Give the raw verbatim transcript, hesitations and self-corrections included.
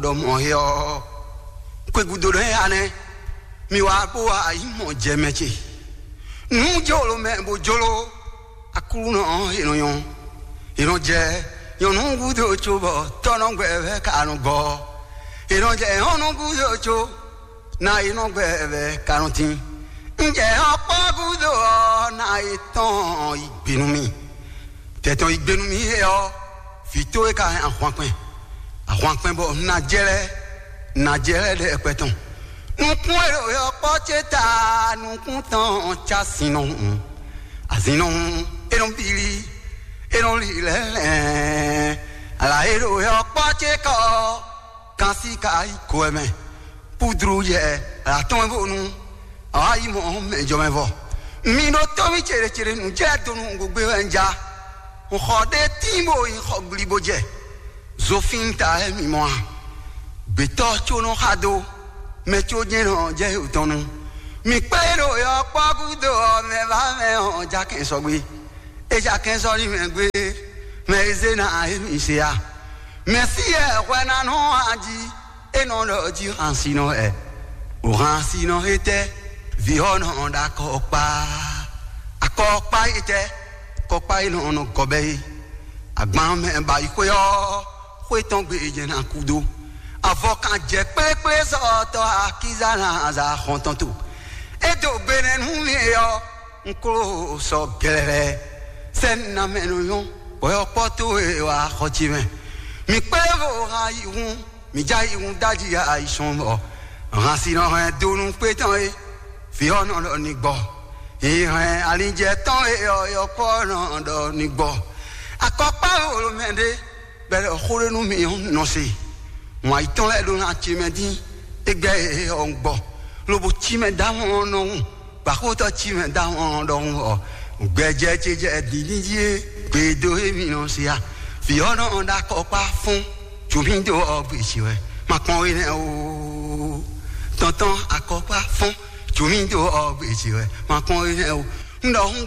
ɖɔ mɔ̌ é ɔ́, xwé gúdo nɛ́ ya nɛ́, mi wá bó wá yi mɔ jɛ mɛ ce. Nǔ jolo mɛ bó jolo, Aklúnɔ ɔ́, è nɔ nyɔ́. È nɔ jɛ nyɔ̌nu gúdo cóbɔ tɔ́nɔgbɛ wɛ ka nɔ gɔ́. È nɔ jɛ nyɔ̌nu gúdo có, ná è nɔ gbɛ wɛ ka nɔ tín. Un jɛ ɔ́ kpɔ́ gúdo ɔ́, ná è tɔn yi gbe nú mì. Tɛtɔn yi gbe nú mì é ɔ́, vǐ towe ka hɛn ahwankpɛn. Ahwankpɛn bɔ un ná jɛ lɛ́ɛ, un ná jɛ lɛ́ɛ ɖɛkpɛ tɔn. Nukún e ɖo yɔkpɔ́ ce ta, nukún tɔn ca sin nɔ hun. Azin nɔ hun, é nɔ bílí, é nɔ li lɛ́lɛ́. Ala e ɖo yɔkpɔ́ ce kɔ, kan sí ka yi ko ɛ mɛ. Púdru yɛ, ala tɔn e bónú awǎ yi mɔ mɛ jɔ mɛ vɔ. Mi ɖó tɔ́mí céɖécéɖé nǔ jɛ donu gbogbo wɛ un ja. Un xɔ ɖé tín bó yi xɔ gbli bó jɛ. Zofín ta wɛ mi mɔ a? Gbětɔ́ có nɔ xa dó, mɛ có jɛ́n nɔ jɛ yǒ tɔn nu. Mi kplé ɖo yɔkpɔ́ gúdo ɔ́, mɛ vá mɛ ɔ́ ja kɛn sɔgbe. É ja kɛn sɔ́ ní mɛ gbé, mɛ e zé ná émí se a? Mɛ̌si wɛ hwɛ ná nɔ ají, é nɔ ɖɔ jí hansinɔ wɛ. O hansinɔ étɛ́, vǐ ɔ́ nɔ ɖo akɔkpá. Akɔkpá étɛ́, kɔkpá é nɔ nɔ gɔbɛ é. Agban mɛ ba yi xwé ɔ́, xwé tɔn gbe jɛ ná kú dó. Avɔ kan jɛ kplékplé sɔ́ tɔ́ akíza ná aza xɔn tɔn to. É dó gbe nɛ́ nú mì ɔ́, un klo sɔ gɛlɛlɛ. Sɛ́n ná mɛ nɔ nyɔ́, bɔyɔkpɔ́ towe wá xɔ ce mɛ. Mi kplé vo ha yi hun, mi já yi hun dájí ya yi sɔn bɔ. Hansinɔ hɛn donu kpé tɔn é, vǐ ɔ́ nɔ ɖɔ ní gbɔ. Yi hɛn alinjɛ tɔn é ɔ́, yɔkpɔ́ nɔ ɖɔ ní gbɔ. Akɔkpá wolo mɛ ɖé, bɛlɛ xó ɖé nú mi ɔ́ nɔ se. Wǎn yítɔn lɛ́ɛ ɖó ná ce mɛ dín, é gbɛ́ é ɔ́ gbɔ, lobo cí mɛ dó ahɔn ɔ́ nɔ hun. Gbǎxótɔ́ cí mɛ dó ahɔn ɔ́ ɖɔhun ɔ́, gbɛjɛ ce jɛ dǐndín jí é, gbe dó émí nɔ se a? Vǐ ɔ́ nɔ ɖo akɔkpá fún, jǒmí dó ɔ́ gbe ce wɛ, ma kpɔn we nɛ́ o. Tɔntɔn akɔkpá fún, jǒmí dó ɔ́ gbe ce wɛ, ma kpɔn we nɛ́ o. Un ɖɔ hun